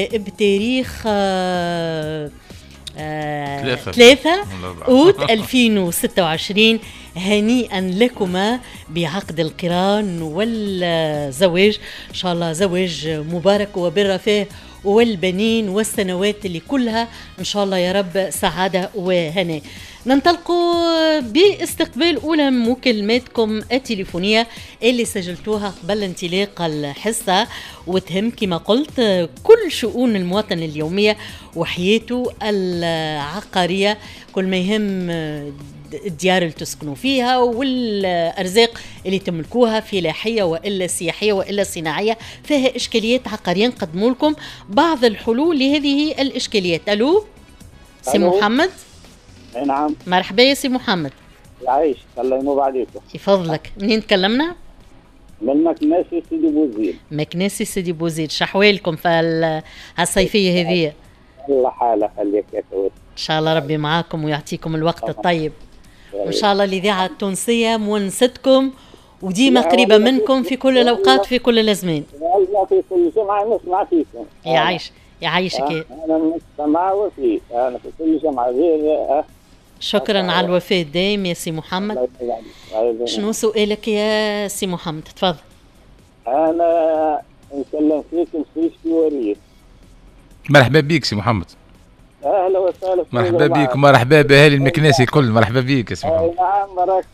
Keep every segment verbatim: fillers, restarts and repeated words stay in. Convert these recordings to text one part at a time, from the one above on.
بتاريخ ثلاثة أوت ألفين وستة وعشرين. هنيئا لكما بعقد القران والزواج، إن شاء الله زواج مبارك وبالرفاه والبنين والسنوات اللي كلها إن شاء الله يا رب سعادة وهناء. ننطلق باستقبال أولى مكالماتكم التليفونية اللي سجلتوها قبل انطلاق الحصة، وتهم كما قلت كل شؤون المواطن اليومية وحياته العقارية، كل ما يهم الديار اللي تسكنوا فيها والأرزاق اللي تملكوها فلاحية وإلا سياحية وإلا صناعية، فيها إشكاليات عقارية. نقدموا لكم بعض الحلول لهذه الإشكاليات. ألو سي محمد. نعم مرحبا يا سي محمد. يعيش الله ينوب عليكم. يفضلك. منين تكلمنا؟ من مكناسي سيدي بوزيد. مكناسي سيدي بوزيد، شحوالكم في هالصيفية هذه؟ الله حالة خليك يا كويس. إن شاء الله ربي معاكم ويعطيكم الوقت الطيب، وإن شاء الله الإذاعة التونسية مونستكم وديما قريبة منكم في كل الأوقات في كل الأزمان. والله في كل جمعة نسمع فيكم. يعيش يعيشك. أنا مستمع وفي أنا في كل جمعة غير. شكرا على الوفاء الدائم يا سي محمد. شنو سؤالك يا سي محمد؟ تفضل. أنا نكلم فيك في وريد. مرحبا بك سي محمد. اهلا وسهلا. مرحبا بك ومرحبا باهالي المكناسي الكل. مرحبا بك يا سي محمد. نعم راك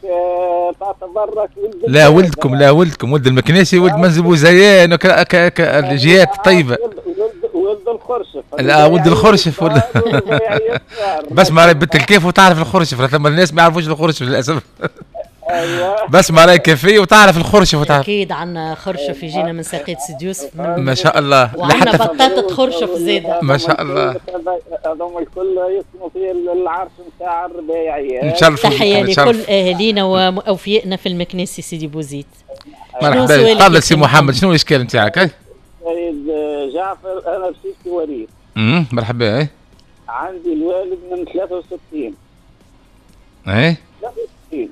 تعتبرك ولد. لا ولدكم، لا ولدكم، ولد المكناسي، ولد منزل بوزيان الجهات الطيبة. ولد الخرشف. لا ولد الخرشف ولد بس ما بنت الكيف وتعرف الخرشف، ثم الناس ما يعرفوش الخرشف للاسف. ايوه بس ما رايك كيفية وتعرف الخرشف وتعرف. اكيد عندنا خرشف يجينا من ساقية سيدي يوسف. ما شاء الله. وعندنا بطاطا خرشف زاده. ما شاء الله. هذوما الكل يسكنوا في العرش نتاع الرباعية. نشرفوا. تحية لكل اهالينا واوفيائنا في المكناسي سيدي بوزيد. مرحبا. تفضل سي محمد، شنو الاشكال نتاعك؟ سيد جعفر، انا بسيتي وليد. امم مرحبا. اي عندي الوالد من ثلاثة وستين. اي ثلاثة وستين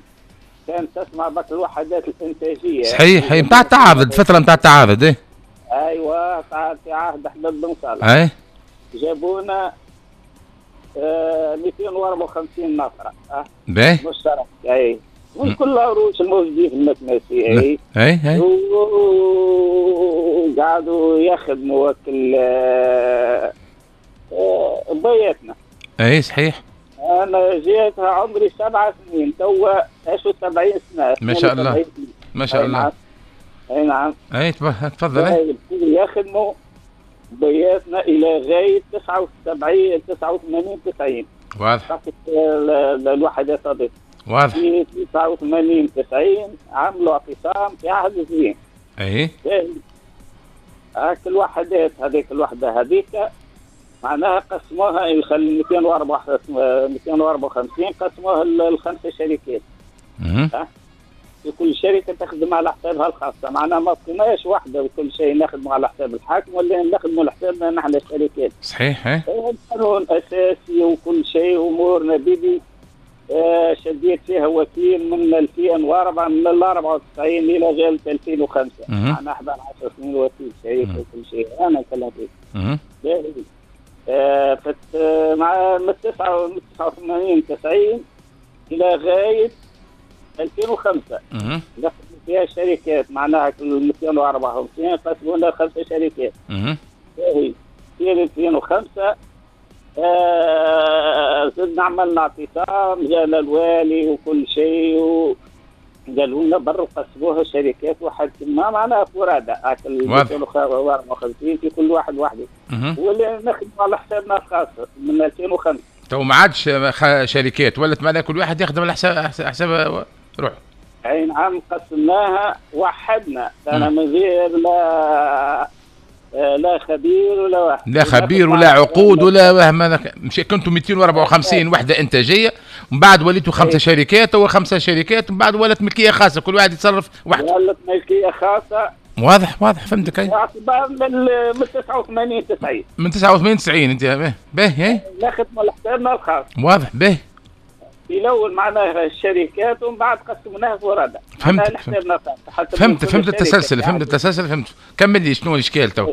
كانت تسمع بك الوحدات الانتاجية. صحيح، هي نتاع التعاضد، الفترة نتاع التعاضد. اي ايوه في عهد احمد بن صالح. اي جابونا آه مئتين وأربعة وخمسين نفره. أه باهي مشترك. اي من كل العروش الموجودين في المكناسي. اي اي اي وقعدوا يخدموا وكل آه بياتنا. اي صحيح. أنا جيتها عمري سبع سنين، توا وسبعين سنة. ما شاء الله ما شاء الله. أي نعم. أي تفضل. أي يخدموا بياتنا إلى غاية تسعة وسبعين تسعة وثمانين تسعين. واضح. الوحدات هذيك. واضح. في تسعة وثمانين تسعين عملوا اعتصام في عهد الزين. أي. هاك الوحدات هذيك الوحدة هذيك معناها قسموها مئتين وأربعة وخمسين قسموها لخمسة شركات. أه؟ في كل شركة تخدم على حسابها الخاصة، معناها ما بقيناش واحدة وكل شيء نخدموا على حساب الحاكم ولا نخدموا على حسابنا نحن الشركات. صحيح. ايه قانون اساسي وكل شيء امورنا بيدي. آه شديت فيها وكيل من ألفين وأربعة من أربعة وتسعين الى غاية ألفين وخمسة. معناها أحد عشر سنين وكيل شركة وكل شيء. انا نتكلم فيه. آه فت مع من تسعة وثمانين تسعين إلى غاية ألفين وخمسة دخلت فيها شركات، معناها مئتين وأربعة وخمسين قسمونا خمسة شركات. في ألفين وخمسة آه زدنا عملنا اعتصام، جانا الوالي وكل شيء و قالوا لنا بروا قسموها شركات واحد ما معناها فرادى مئتين وأربعة وخمسين في كل واحد وحده. ولا نخدموا على حسابنا الخاص من ألفين وخمسة. تو ما عادش شركات، ولات معناها كل واحد يخدم على حساب حساب روحه. اي نعم قسمناها وحدنا، انا من غير لا لا خبير ولا واحد. لا خبير ولا عقود ولا وهم. مش كنتوا مئتين وأربعة وخمسين وحده انتاجية، ومن بعد وليتوا خمسة شركات او خمسة شركات، ومن بعد ولات ملكية خاصة، كل واحد يتصرف وحده. ولات ملكية خاصة. واضح واضح فهمتك. اي من من تسعة وثمانين تسعين. من تسعة وثمانين تسعين انت باهي. ناخذ من حسابنا الخاص. واضح باهي. في الاول معناها الشركات ومن بعد قسمناها فرادى. فهمت فهمت فهمت التسلسل، فهمت التسلسل، فهمت. كمل لي شنو الاشكال تو؟